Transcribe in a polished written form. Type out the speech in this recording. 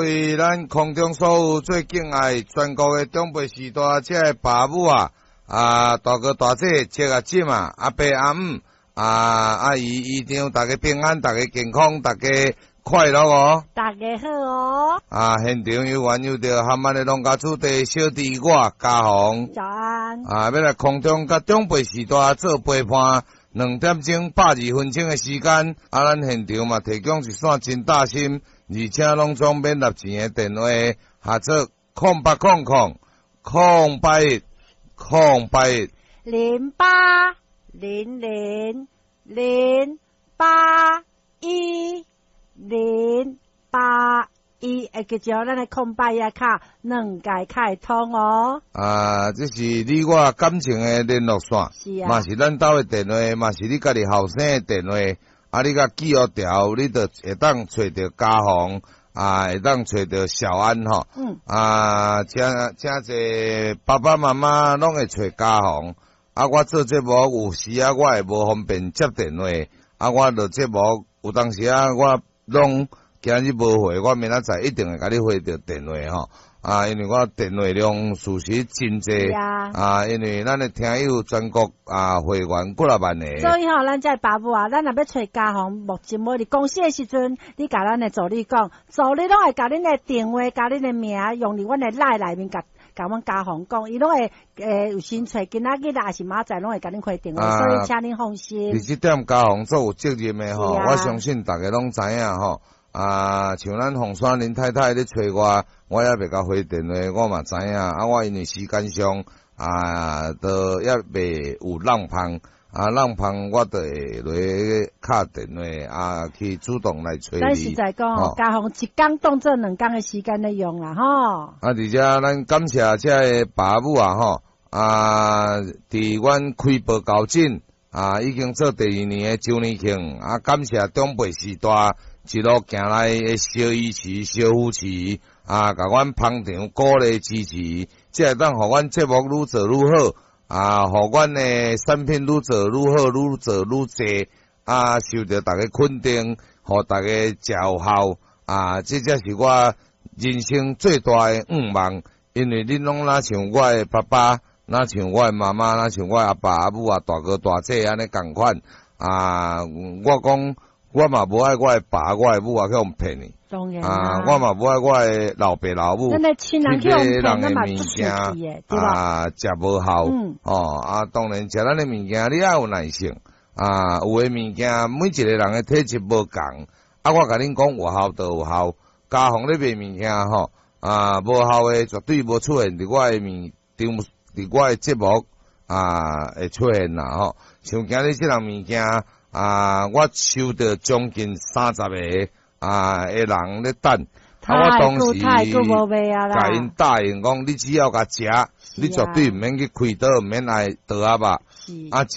為咱空中所有最敬愛全國的長輩序大這个爸母啊，啊大哥大姐、叔啊姊啊、阿伯阿姆、啊阿姨姨丈，大家平安，大家健康，大家快樂哦！大家好哦！啊，現場有緣有著含安的農家子弟小弟我嘉宏，早安！啊，欲來空中佮長輩序大做陪伴，2點鐘82分鐘的時間，啊，咱現場嘛提供一線真貼心，而且攏總免納錢的電話，號做0800 081 081。 0800 081 081，會記著咱的空八一卡兩屆開通哦。啊，這是你我感情的聯絡線，嘛是咱兜的電話，嘛是你家己後生的電話。啊，你共記予牢，你就會當揣著嘉宏，啊，會當揣著小安吼。啊，誠誠濟爸爸媽媽攏會揣嘉宏。啊，我做節目有時啊，我會無方便接電話。啊，我錄節目有當時啊，我攏今日無回，我明仔載一定會共你回著電話吼。啊，因為我電話量事實真濟。啊，因為咱的聽友全國啊會員幾若萬个。所以吼，咱這爸母啊，咱若欲揣嘉宏，目前無佇公司的時陣，你共咱的助理講，助理攏會共恁的電話、共恁的名，用佇阮的 LINE 內面共共阮嘉宏講，伊攏會有先揣，今仔日抑是明仔載攏會共恁回電話，所以請恁放心。佇這點嘉宏足有責任的吼，我相信逐家攏知影吼。啊，像咱鳳山林太太咧揣我，我猶未共回電話，我嘛知影。啊，我因為時間上啊，都猶未有挵芳，啊，挵芳我就會落去敲電話啊，去主動來揣你。咱實在講，嘉宏一工當做兩工的時間咧用啦，吼。啊，而且咱感謝這个爸母啊，吼，啊，佇阮開播到今啊，已經做第二年的周年慶，啊，感謝長輩序大一路行來的小支持、小扶持，啊，共阮捧場鼓勵支持，才會當予阮節目愈做愈好，啊，予阮的產品愈做愈好、愈做愈濟，啊，受著大家肯定，予大家食有效，啊，這才是我人生最大的願望，因為恁攏若像我的爸爸，若像我的媽媽，若像我的阿爸阿母啊，大哥大姐按呢仝款，啊，我講我嘛無愛我的爸、我的母啊去予騙去，當然啊，我嘛無愛我的老爸老母去買人的物件啊，食無效，哦，啊，當然食咱的物件，你愛有耐性，啊，有的物件每一個人的體質無仝，啊，我共恁講有效就有效，嘉宏咧賣物件吼，啊，無效的絕對無出現佇我的物場，佇我的節目啊會出現啦吼，像今日這項物件啊，我收著將近30個啊的人咧等，啊，我當時共𪜶答應講，你只要共食，你絕對毋免去開刀，毋免愛刀仔肉，啊，真。